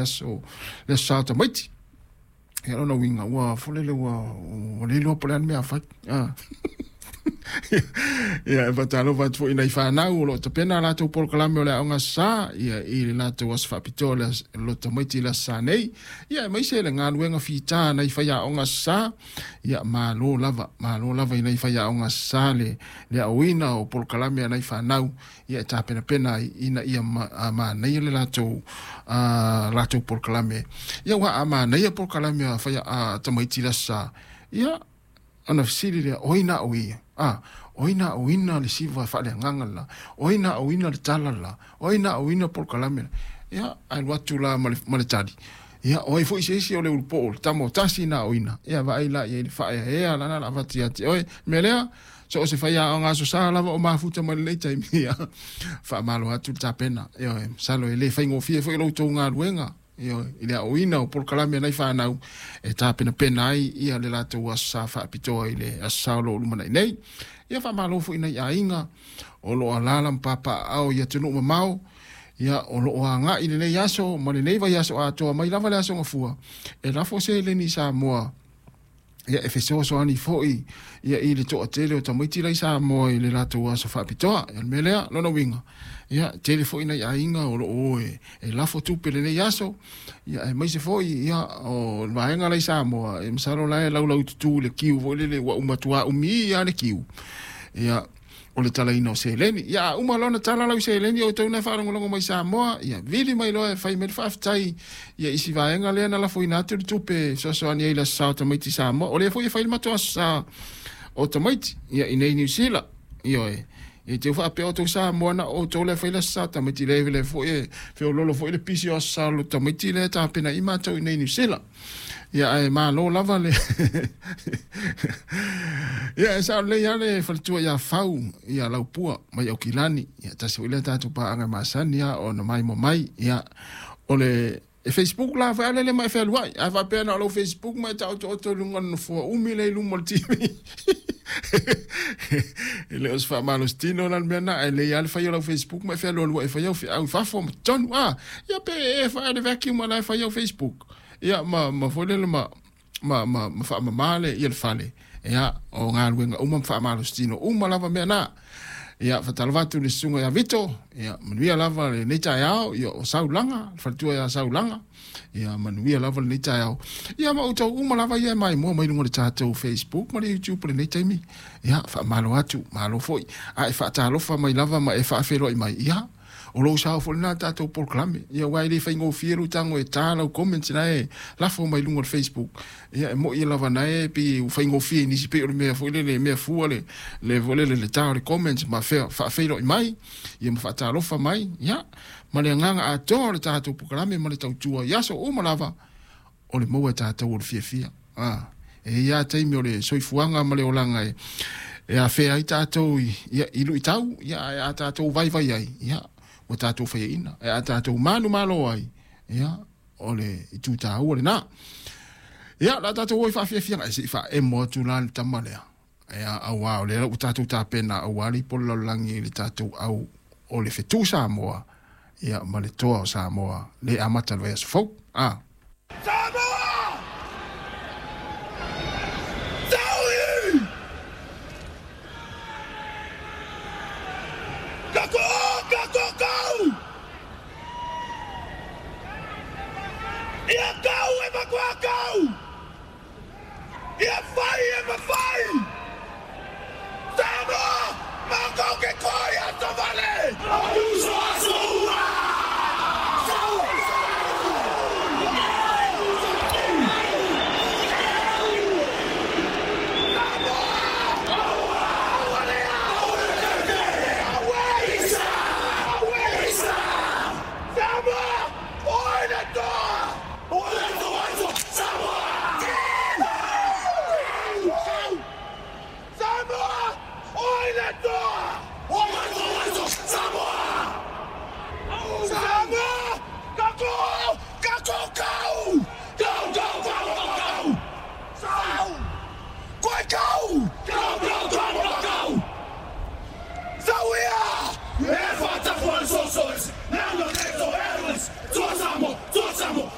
Aso le Aso Sa o tamaiti. Ia lona uiga ua folele ua le iloa po o le a le mea a fai. Ia e faatalofa atu foi i nai fanau o lo o tapena a latou polokalame o le Aoga Aso Sa, ia i le latou aso faapitoa le lo tamaiti i le Aso Sa nei. Ia aemaise le galuega fita a nai faiaoga Aso Sa. Ia malo lava, malo lava i nai faiaoga Aso Sa le aoina o polokalame a nai fanau ia e tapenapena ai ina ia manaia le latou latou polokalame. Ia aua a manaia polokalame a fai a tamaiti i le Aso Sa, ia ona fesili lea, o ai na aoia? A, o ai na aoina le siva faaleagaga le la? O ai na aoina le tala le la? O ai na aoina polokalame la? Ia, ae alu atu la ma le tali. Ia, o ai foi se isi o le ulupoo, le tama o tasi na aoina. Ia, vaai la i ai le faaeaea lana la avatu ia te oe. Mea lea, so o se faiaoga Aso Sa lava o mafuta mai lenei taimi, ia, faamalo atu le tapena. Ioe, masalo e le faigofie foi lo outou galuega, ioe, i le aoina o polokalame a nai fanau e tapenapena ai ia le latou Aso Sa faapitoa i le Aso Sa o lo o lumanai nei. Ia faamalo foi i nai aiga o lo o alaala ma papaaao i atunuu mamao, ia o lo o agai i lenei aso ma lenei vaiaso atoa mai lava le Aso Gafua e lafo seleni i Samoa, ia e fesoasoani foi ia i le toatele o tamaiti la i Samoa i le latou aso faapitoa. Ia le mea lea, lona uiga, ia tele foi nai aiga o lo o e lafo tupe lenei aso, ia aemaise foi ia o le vaega la i Samoa, e masalo la e laulaututu i le kiu foi lele ua matua umi lava le kiu. Ia o le talaina o seleni. Ia a uma loa ona tala lau seleni o outou na e faalogologo mai Samoa, ia vili mai loa e fai mai le faafetai ia i si vaega lea na lafoina atu le tupe e fesoasoani ai i le Aso Sa o tamaiti i Samoa. O lea foi e fai le matou Aso Sa o tamaiti ia i nei Niu Sila. Ioe. E te faapea outou Samoa na o outou lea e fai le Aso Sa o tamaiti lea lea foi e feololo foi le pisi o Aso Sa o tamaiti lea e tapena i matou i nei Niu Sila. Ia ae malo lava le Ia e sao lelei lava le faletua ia Fau ia Laupua mai Aukilani. Ia tasi foi lea tatou paaga masani a ona maimoa mai. Ia o le e Facebook la foi a lele ma e fealuai. A faapea na o lau Facebook ma e taotooto i luga o le nofoa umi lea i luma o le TV. E le o se faamalositino la le mea lena, ae lelei lava le fai o lau Facebook ma e fealualuai e fai au feau i fafo ma totonu. A, ia pe e fai le vacuum la e fai au Facebook. Ia ma ma foi lele ma ma ma, ma faamama le ia le fale. Ia o galuega uma ma faamalositino uma lava mea na. Ia faatalofa atu i le susuga ia Vito, ia manuia lava lenei taeao, ia o Saulaga, le faletua ia Saulaga. Ia manuia lava lenei taeao. Ia ma outou uma lava ia e maimoa mai luga o le tatou Facebook ma le YouTube i lenei taimi. Ia faamalo atu, malo foi. A e faatalofa mai lava ma e faafeiloai mai, ia o lou sao foi lena i le tatou polokalame. Ia aua e le faigofie lou tago e ta lau comments na e lafo mai luga o le Facebook. Ia e moi lava na e pei ua faigofie i nisi pei o le mea foi lele mea fua le le foi lele le ta o le comments ma fea faafeiloai mai ia ma faatalofa mai. Ia ma le agaga atoa o le tatou polokalame ma le tautua i aso uma lava o le maua e tatou o le fiafia. A, e i ai lava taimi o le soifuaga ma le olaga e afea ai tatou i, ia, i luitau, ia, ae a tatou vaivai ai, ia, ua tatou faiaina. Ae a tatou manumalo ai, ia, o le itu taua lena. Ia, o le a tatou o i faafiafiaga, e se i faaemo atu la le tama lea. Ia, auā o lea ua tatou tapena aua le ipu o le lalolagi i le tatou au o le fetu Samoa, ia, ma le toa o Samoa, le amata i le vaiaso fou. A. Samoa! Taui! Kako o, kako kau! Ia kau e matua kau! Ia fai e mafai! Samoa! Matou ke koi a Tovale!